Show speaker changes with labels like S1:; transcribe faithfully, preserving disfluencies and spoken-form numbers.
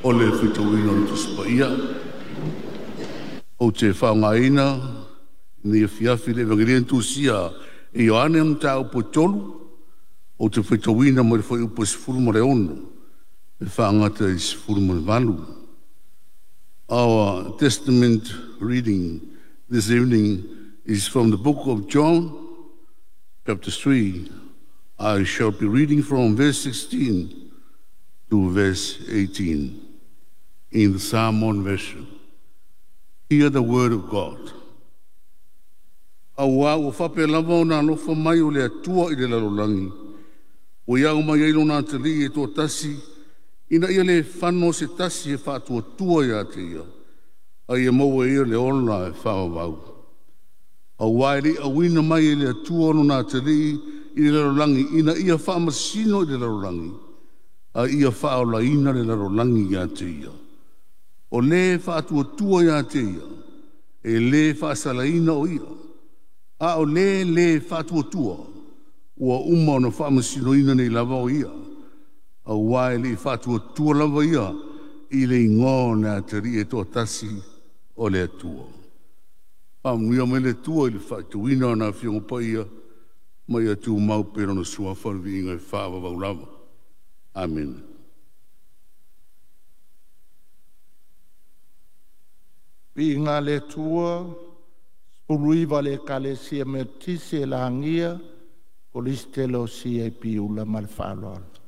S1: O le faitauina o le Tusi Paia. Ou te faaaogaina lenei afiafi le Evagelia na tusia e Ioane mataupu e tolu, ou te faitauina mai le fuaiupu e sefulu ma le ono e faagata i le sefulu ma le valu. Our Testament reading this evening is from the book of John, chapter three. I shall be reading from verse sixteen to verse eighteen in the Samoan version. Hear the word of God. Auā ua faapea lava ona alofa mai o le Atua i le lalolagi, ua iago mai ai lona Atalii e toatasi, ina ia le fano se tasi e faatuatua ia te ia, a ia maua e ia le ola e faavavau. Auā e le i auina mai e le Atua lona Atalii i le lalolagi ina ia faamasino i le lalolagi, a ia faaolaina le lalolagi ia te ia. O le faatuatua ia te ia, e le faasalaina o ia, a o le lē faatuatua, ua uma ona faamasinoina nei lava o ia, auā e le i faatuatua lava ia i le igoa o le Atalii e toatasi o le Atua. Faamanuia mai le Atua i le faitauina o Lana Afioga Paia, ma ia tumau pea Lona suafa le viiga e faavavau lava. Amene.
S2: Viiga le Atua, sefuluiva le Ekalesia Metotisi e lagia Kolisi o C A P Ula ma le faaaloalo.